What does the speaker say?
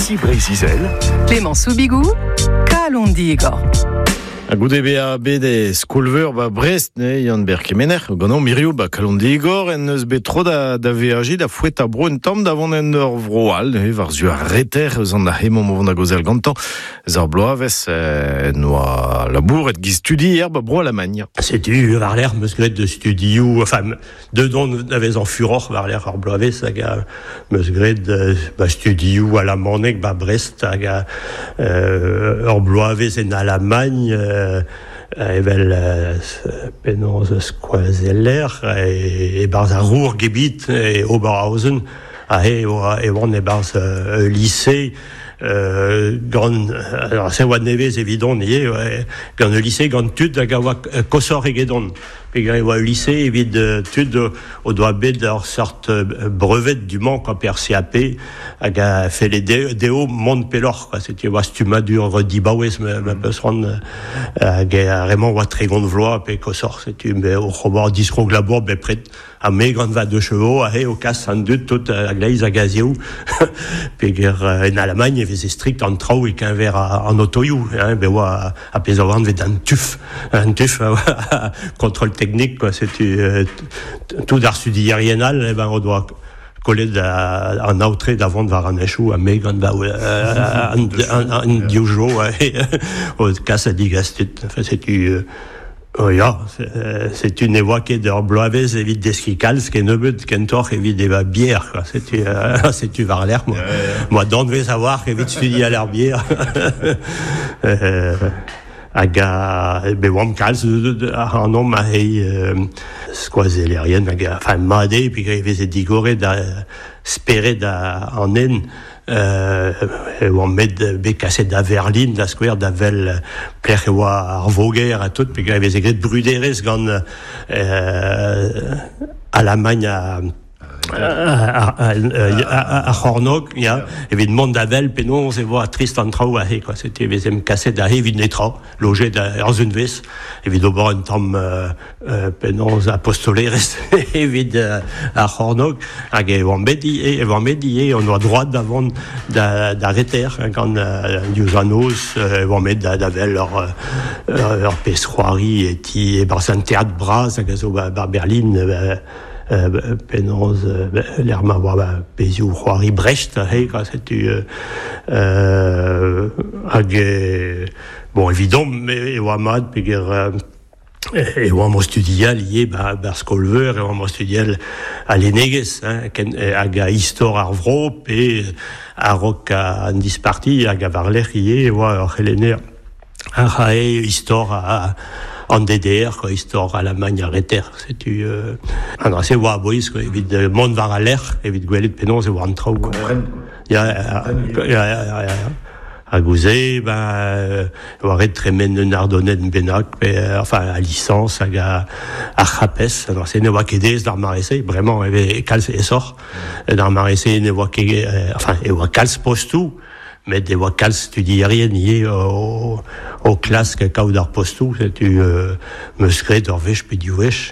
Ici Breizh-Izel. Clément Soubigou, Kalon Digor. Ha goude bezañ bet e skol-veur ba Brest, ne, Yann-Ber Kemener, ganeomp hiziv ba Kalon Digor, en deus bet tro da, da veajiñ da foetañ bro un tamm da vont en ur vro all, ne, war-zu ar reter eus an hemañ o vont da gaozeal gantañ. Eus ar bloavezh eh, noa labouret giz studier ba bro Alamagn. Setu war-lerc'h 'm eus graet studioù, enfin, Deut on da vezañ furoc'h war-lerc'h ar bloavezh hag 'm eus graet ma studioù alamaneg 'ba Brest hag ur bloavezh en Alamagn evel penaos skoazeller e-barzh ar Ruhrgebiet e Oberhausen. Aze e oan e-barzh ul lise gant alors se oa nevez evidon ivez gant ul lise gant tud hag a oa koshoc'h egedon. Peogwir e oa ul lise evit tud o doa bet ur seurt brevet du-mañ quoi, pe ar CAP hag a felle dezho mont pelloc'h quoi. Setu e oa stummadur dibaouez ma peus c'hoant hag ar re-mañ oa 30 vloaz pe koshoc'h. Setu me oc'h ober diskrog-labour bepred. Ha me gant va deux chevaux aze o kas an dud tout a-gleiz hag a-zehou peger en Alamagn e veze strikt an traoù e-keñver an otoioù hein, bet oa ar pezh a oa anvet an TÜV an TÜV a oa kontrol teknik quoi, setu tout ar studierien all eh ben o doa kollet an aotre da vont war an henchoù ha me gant va an div jo o kas ha digas tud enfin setu Oh ya, setu ne oa ket ur bloavezh evit deskiñ kalz kennebeut, kentoc'h evit evañ bier, quoi. Setu, setu war-lerc'h, moi, moi danvez a-walc'h evit studial ar bier. hag a, bet oamp kalz ac'hanomp aze skoazellerien hag enfin mat eo peogwir e veze digoret spered an den E oamp bet bet kaset da Verlin, da skouer, da wel pelec'h e oa ar voger ha tout, peogwir e veze graet bruderezh gant Alamagn ha ar c'hornôg, ya, evit mont da wel penaos e oa trist an traoù aze, quoi. Setu e vezemp kaset aze evit netra, lojet ur sunvezh, evit ober un tamm penaos apostolerezh evit ar c'hornôg hag e oamp bet ivez, e oamp bet ivez, on oa droad da vont da reter gant diouzh an noz e oamp bet da wel ur ur pezh c'hoari e ti e-barzh an teatr bras hag a zo ba Berlin penaos lec'h ma oa pezhioù c'hoari Brecht aze kwa setu hag bon evidomp e oa mat peger E oamp o studial ivez 'ba 'bar skol-veur, e oamp o studial al lennegezh hein, ken hag a istor ar vro pe a-raok an disparti hag a war-lerc'h ivez e oa ur c'helenner a rae istor an DDR quoi, istor Alamagn ar Reter. Setu an dra-se oa a-bouez quoi, evit mont war al lec'h, evit gwelet penaos e oa an traoù. Kompren. Ya, ya, ya, ya, ya. Hag ouzh-se, ben, e oa ret tremen un ardonenn bennak, pe, enfin, a lisañs hag a, ar c'hapes. Alors, se ne oa ket aes d'ar mare-se, bremañ e vez kalz aesoc'h. D'ar mare-se ne oa ket, enfin, e oa kalz postoù, met e oa kalz studierien ivez o, o klask kaout ar postoù. Setu, 'm eus graet ur wech pe div wech.